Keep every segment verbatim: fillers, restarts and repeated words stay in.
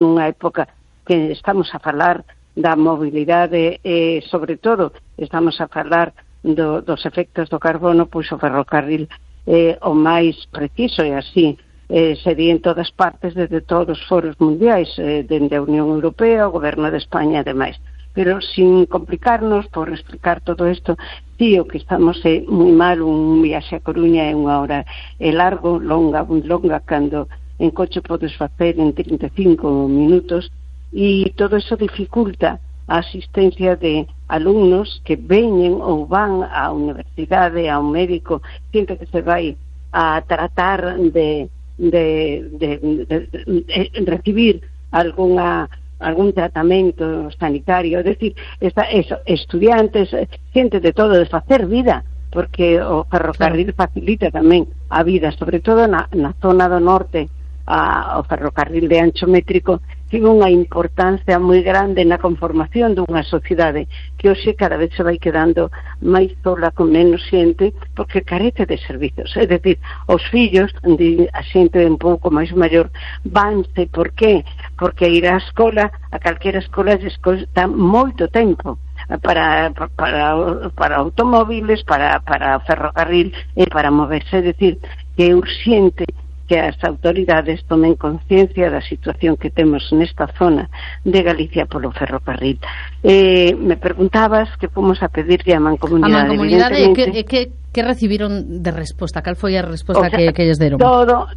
nunha época que estamos a falar da mobilidade e, sobre todo, estamos a falar do, dos efectos do carbono, pois o ferrocarril é o máis preciso e así eh, sería en todas partes, desde todos os foros mundiais, eh, dende a Unión Europea, o Goberno de España e demais. Pero sin complicarnos, por explicar todo isto, sí, o que estamos é moi mal, un viaxe a Coruña é unha hora é largo, longa, moi longa, cando en coche podes facer en trinta e cinco minutos, e todo iso dificulta a asistencia de alumnos que veñen ou van á universidade, a un médico, xente que se vai a tratar de, de, de, de, de, de recibir algunha algún tratamento sanitario, é dicir, esta, eso, estudiantes, xente de todo, de facer vida, porque o ferrocarril facilita tamén a vida, sobre todo na, na zona do norte. A, o ferrocarril de ancho métrico tivo unha importancia moi grande na conformación dunha sociedade que hoxe cada vez se vai quedando máis sola, con menos xente, porque carece de servizos. É dicir, os fillos de a xente un pouco máis maior vanse, por qué? Porque ir á escola, a calquera escola está moito tempo para, para, para automóviles, para, para ferrocarril e para moverse. É dicir, que é urxente que as autoridades tomen conciencia da situación que temos nesta zona de Galicia polo ferrocarril. Eh, me preguntabas que fomos a pedirle a Mancomunidade. A Mancomunidade, que, que, que recibiron de resposta? Cal foi a resposta o sea, que, que lles deron? Todo,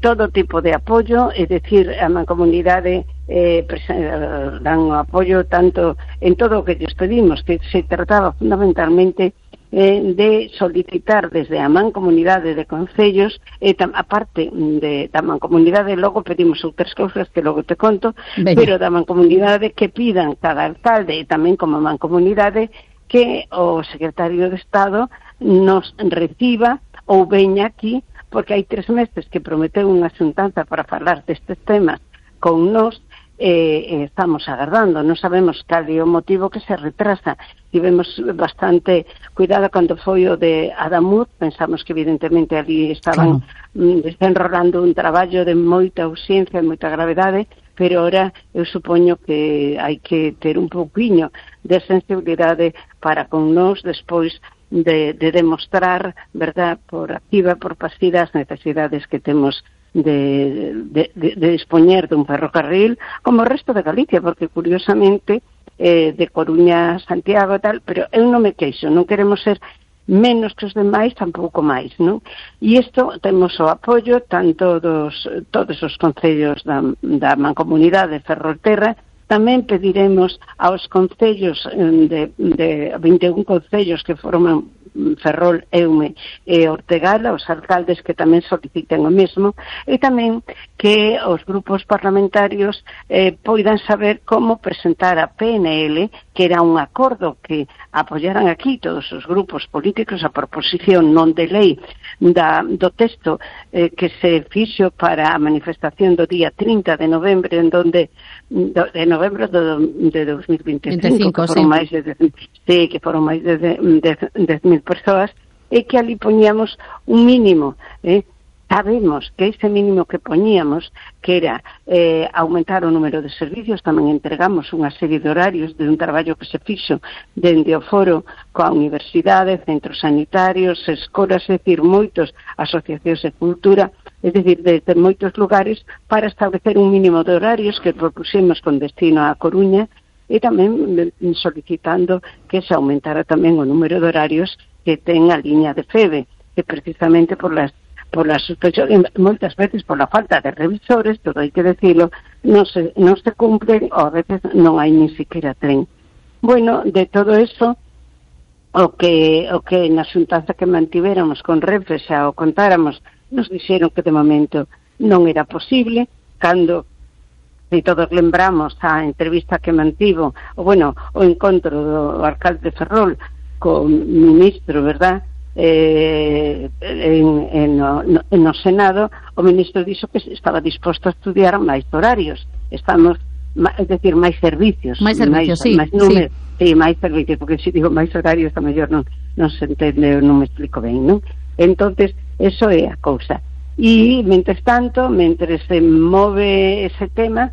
todo tipo de apoio, é dicir, a Mancomunidade eh, dan o apoio tanto en todo o que lles pedimos, que se trataba fundamentalmente Eh, de solicitar desde a Mancomunidade de Concellos, e tam, aparte de, da Mancomunidade, logo pedimos outras cousas que logo te conto, Bella. Pero da Mancomunidade que pidan cada alcalde e tamén como Mancomunidade que o secretario de Estado nos reciba ou veña aquí, porque hai tres meses que prometeu unha xuntanza para falar destes temas con nós. Eh, eh, estamos agardando, non sabemos cal é o motivo que se retrasa. Tivemos bastante cuidado cando foi o de Adamuz, pensamos que evidentemente ali estaban claro. desenrolando un traballo de moita ausencia e moita gravedade, pero ora eu supoño que hai que ter un pouquiño de sensibilidade para con nós despois de, de demostrar, verdad, por activa, por pasiva, as necesidades que temos De, de, de, de dispoñer dun ferrocarril como o resto de Galicia, porque curiosamente eh, de Coruña a Santiago e tal, pero eu non me queixo, non queremos ser menos que os demais, tampouco máis, non? E isto temos o apoio tanto dos todos os concellos da, da Mancomunidade de Ferrolterra. Tamén pediremos aos concellos de, de vinte e un concellos que forman Ferrol, Eume e Ortegala, os alcaldes que tamén soliciten o mesmo, e tamén que os grupos parlamentarios eh, poidan saber como presentar a P N L, que era un acordo que apoyaran aquí todos os grupos políticos, a proposición non de lei da, do texto eh, que se fixo para a manifestación do día trinta de novembro, en donde do, de novembro do, de dos mil veinticinco, veinticinco, que foron sí. máis de, de, sí, que foron máis de dez mil persoas, e que ali poñíamos un mínimo, eh? Sabemos que ese mínimo que poñíamos, que era eh, aumentar o número de servicios, tamén entregamos unha serie de horarios de un traballo que se fixo dende o foro coa universidade, centros sanitarios, escolas, é dicir, moitos asociacións de cultura, é dicir, desde moitos lugares, para establecer un mínimo de horarios que propuxemos con destino a Coruña, e tamén solicitando que se aumentara tamén o número de horarios que ten a liña de FEBE, que precisamente por las por las suspensión, moitas veces por la falta de revisores, todo hai que decirlo, non se, non se cumplen, ou a veces non hai ni siquiera tren. Bueno, de todo eso, o que, o que na xuntanza que mantivéramos con Renfe xa o contáramos, nos dixeron que de momento non era posible, cando e todos lembramos a entrevista que mantivo, o bueno, o encontro do alcalde de Ferrol co ministro, verdad, eh, en, en, no, en no Senado, o ministro dixo que estaba disposto a estudiar máis horarios, estamos, é dicir, máis servicios, máis servicios, máis, sí, máis número, sí. sí, máis servicios, porque se digo máis horarios, a mellor non, non se entende, non me explico ben, non? Entonces, eso é a cousa. E, mentres tanto, mentre se move ese tema,